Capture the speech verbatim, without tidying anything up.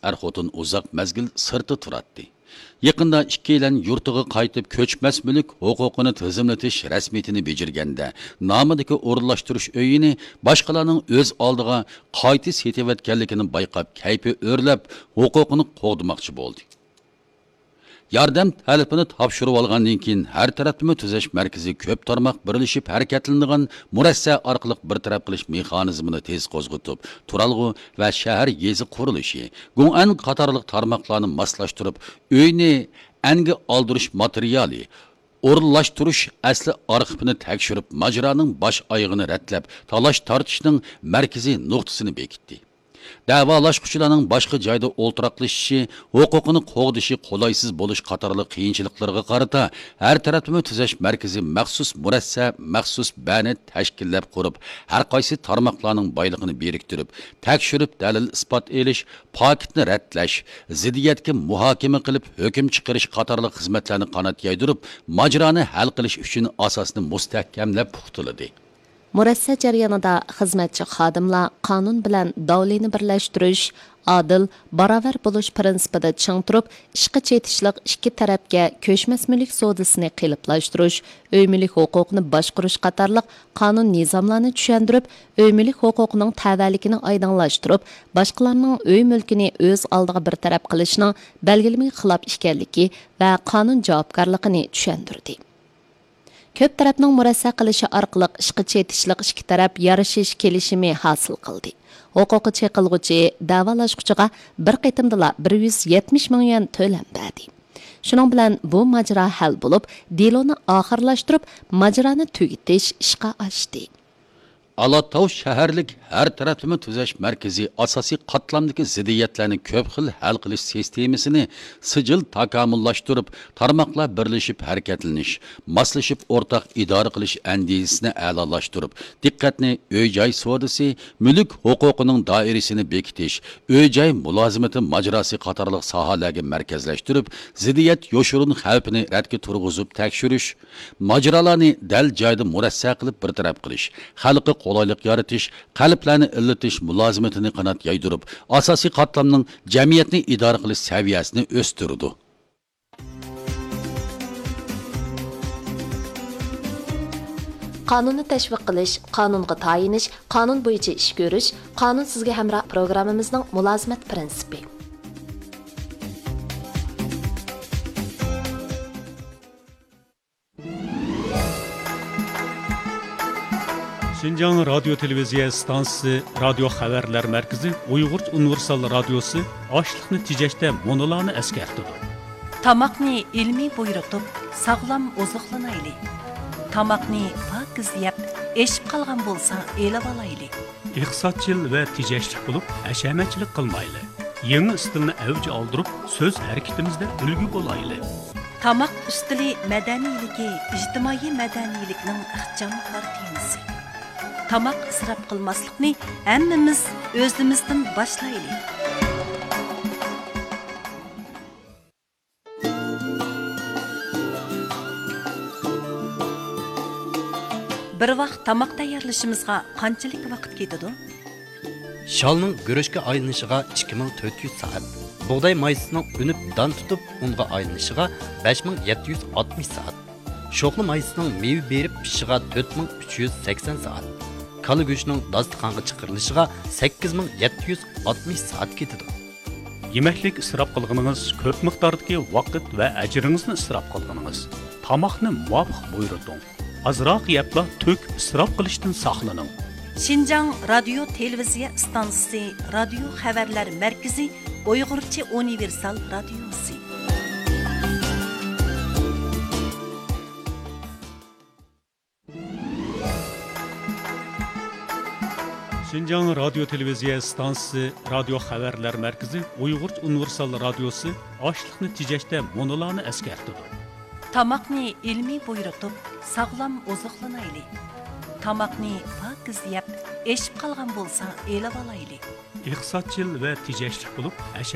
ئەر-خوتۇن ئۇزاق مەزگىل سىرتتا تۇراتتى. يېقىندا ئىككىيلەن يۇرتىغا قايتىپ، كۆچمەس مۈلۈك ھوقۇقىنى تىزىملىتىش رەسمىيىتىنى بېجىرگەندە، نامىدىكى ئورۇنلاشتۇرۇش ئۆيىنى باشقىلارنىڭ ئۆز ئالدىغا قايتا سېتىۋەتكەنلىكىنى بايقاپ، كەيپى ئۆرلەپ، ھوقۇقىنى قوغدىماقچى بولدى. ياردەم تەلىپىنى تاپشۇرۇۋالغاندىن كېيىن، ھەر تەرەپلىمە تۈزەش مەركىزى كۆپ تارماق بىرلىشىپ ھەرىكەتلىنىدىغان مۇرەسسە ئارقىلىق بىر تەرەپ قىلىش مېخانىزمىنى تېز قوزغىتىپ، تۇرالغۇ ۋە شەھەر يېزا قۇرۇلۇشى، گۇڭئەن قاتارلىق تارماقلارنى ماسلاشتۇرۇپ، ئۆينى ئەنگە ئالدۇرۇش ماتېرىيالى، ئورۇنلاشتۇرۇش ئەسلى ئارخىپىنى تەكشۈرۈپ، ماجىرانىڭ باش ئايىغىنى رەتلەپ، تالاش تارتىشنىڭ مەركىزىي نۇقتىسىنى بېكىتتى. دەۋالاشقۇچىلارنىڭ باشقا جايدا ئولتۇراقلىشىشى، ھوقۇقىنى قوغدىشى قولايسىز بولۇش قاتارلىق قىيىنچىلىقلىرىغا قارىتا، ھەر تەرەپلىمە تۈزەش مەركىزى مەخسۇس مۇرەسسە، مەخسۇس بەنى تەشكىللەپ قۇرۇپ، ھەر قايسى تارماقلارنىڭ بايلىقىنى بىرىكتۈرۈپ، تەكشۈرۈپ دەلىل-ئىسپات ئېلىش، پاكىتنى رەتلەش، زىددىيەتكە مۇھاكىمە قىلىپ ھۆكۈم چىقىرىش قاتارلىق خىزمەتلەرنى قانات يايدۇرۇپ، ماجىرانى ھەل قىلىش ئۈچۈن ئاساسنى مۇستەھكەملەپ پۇختىلىدى. مۇرەسسە جەريانىدا خىزمەتچى خادىملار قانۇن بىلەن داۋلىنى بىرلەشتۈرۈش، ئادىل، باراۋەر بولۇش پىرىنسىپىدا چىڭ تۇرۇپ، ئىشقا چېتىشلىق ئىككى تەرەپكە كۆچمەس مۈلۈك سودىسىنى قېلىپلاشتۇرۇش، ئۆي مۈلۈك ھوقۇقىنى باشقۇرۇش قاتارلىق قانۇن نىزاملارنى چۈشەندۈرۈپ، ئۆي مۈلۈك ھوقۇقىنىڭ تەۋەلىكىنى ئايدىڭلاشتۇرۇپ، باشقىلارنىڭ ئۆي مۈلكىنى ئۆز ئالدىغا بىر تەرەپ قىلىشنىڭ بەلگىلىمىگە خىلاپ ئىكەنلىكى ۋە قانۇن جاۋابكارلىقىنى چۈشەندۈردى. كۆپ تەرەپنىڭ مۇرەسسە قىلىشى ئارقىلىق ئىشقا چېتىشلىق ئىككى تەرەپ يارىشىش كېلىشىمى ھاسىل قىلدى. ھوقۇقى چېقىلغۇچى دەۋالاشقۇچىغا بىر قېتىمدىلا بىر يۈز يەتمىش مىڭ يۈەن تۆلەم بەردى. شۇنىڭ بىلەن بۇ ماجىرا ھەل بولۇپ، دېلونى ئاخىرلاشتۇرۇپ، ماجىرانى تۈگىتىش ئىشقا ئاشتى. ئالاتاۋ شەھەرلىك ھەر تەرەپلىمە تۈزەش مەركىزى ئاساسىي قاتلامدىكى زىددىيەتلەرنى كۆپ خىل ھەل قىلىش سىستېمىسىنى سىجىل تاكامۇللاشتۇرۇپ، تارماقلار بىرلىشىپ ھەرىكەتلىنىش، ماسلىشىپ ئورتاق ئىدارە قىلىش ئەندىزىسىنى ئەلالاشتۇرۇپ، دىققەتنى ئۆي-جاي سودىسى، مۈلۈك ھوقۇقىنىڭ دائىرىسىنى بېكىتىش، ئۆي-جاي مۇلازىمىتى ماجىراسى قاتارلىق ساھەلەرگە مەركەزلەشتۈرۈپ، زىددىيەت يوشۇرۇن خەۋپىنى رەتكە تۇرغۇزۇپ تەكشۈرۈش، ماجىرالارنى دەل جايىدا مۇرەسسە قىلىپ بىر تەرەپ قىلىش، خەلققە قولايلىق يارىتىش، قەلبلەرنى ئىللىتىش مۇلازىمىتىنى قانات يايدۇرۇپ، ئاساسىي قاتلامنىڭ جەمئىيەتنى ئىدارە قىلىش سەۋىيەسىنى ئۆستۈرىدۇ. قانۇننى تەشۋىق قىلىش، قانۇنغا تايىنىش، قانۇن بويىچە ئىش كۆرۈش، قانۇن سىزگە ھەمراھ پروگراممىمىزنىڭ مۇلازىمەت پىرىنسىپى. شىنجاڭ رادىيو تېلېۋىزىيە ئىستانسىسى رادىيو خەۋەرلەر مەركىزى ئۇيغۇرچە ئۇنىۋېرسال رادىيوسى ئاشلىقنى تېجەشتە مۇنۇلارنى ئەسكەرتىدۇ. تاماقنى ئىلمىي بۇيرۇتۇپ، ساغلام ئوزۇقلىنايلى. تاماقنى پاكىز يەپ، ئېشىپ قالغان بولسا ئېلىۋالايلى. ئىقتىسادچىل ۋە تېجەشلىك بولۇپ، ھەشەمەتچىلىك قىلمايلى. يېڭى ئىستىلنى ئەۋج ئالدۇرۇپ، سۆز ھەرىكىتىمىزدە ئۈلگە بولايلى. تاماق ئۈستىلى مەدەنىيلىكى ئىجتىمائىي مەدەنىيلىكنىڭ ئىخچام كارتىنىسى. تاماق ئىسراپ قىلماسلىقنى ھەممىمىز ئۆزىمىزدىن باشلايلى. بىر ۋاق تاماق تەييارلىشىمىزغا قانچىلىك ۋاقىت كېتىدۇ؟ شالنىڭ گۈرۈچكە ئايلىنىشىغا ئىككى مىڭ تۆت يۈز سائەت، بۇغداي مايسىسىنىڭ ئۈنۈپ دان تۇتۇپ ئۇنغا ئايلىنىشىغا بەش مىڭ يەتتە يۈز ئاتمىش سائەت، شوخلا مايسىسىنىڭ مېۋە بېرىپ پىشىشىغا تۆت مىڭ ئۈچ يۈز سەكسەن سائەت، كالا گۆشىنىڭ داستىخانغا چىقىرىلىشىغا سەككىز مىڭ يەتتە يۈز ئاتمىش سائەت كېتىدۇ. يېمەكلىك ئىسراپ قىلغىنىڭىز، كۆپ مىقداردىكى ۋاقىت ۋە ئەجرىڭىزنى ئىسراپ قىلغىنىڭىز. تاماقنى مۇۋاپىق بۇيرۇتۇڭ. ئازراق يەپلا تۆك، ئىسراپ قىلىشتىن ساقلىنىڭ. شىنجاڭ رادىيو تېلېۋىزىيە ئىستانسىسى رادىيو خەۋەرلەر مەركىزى ئۇيغۇرچە ئۇنىۋېرسال رادىيوسى. شىنجاڭ رادىيو تېلېۋىزىيە ئىستانسىسى رادىيو خەۋەرلەر مەركىزى ئۇيغۇرچە ئۇنىۋېرسال رادىيوسى ئاشلىقنى تېجەشتە مۇنۇلارنى ئەسكەرتىدۇ. تاماقنى ئىلمىي بۇيرۇتۇپ، ساغلام ئوزۇقلىنايلى. تاماقنى پاكىز يەپ، ئېشىپ قالغان بولسا ئېلىۋالايلى. ئىقتىسادچىل ۋە تېجەشلىك بولۇپ، ھەشە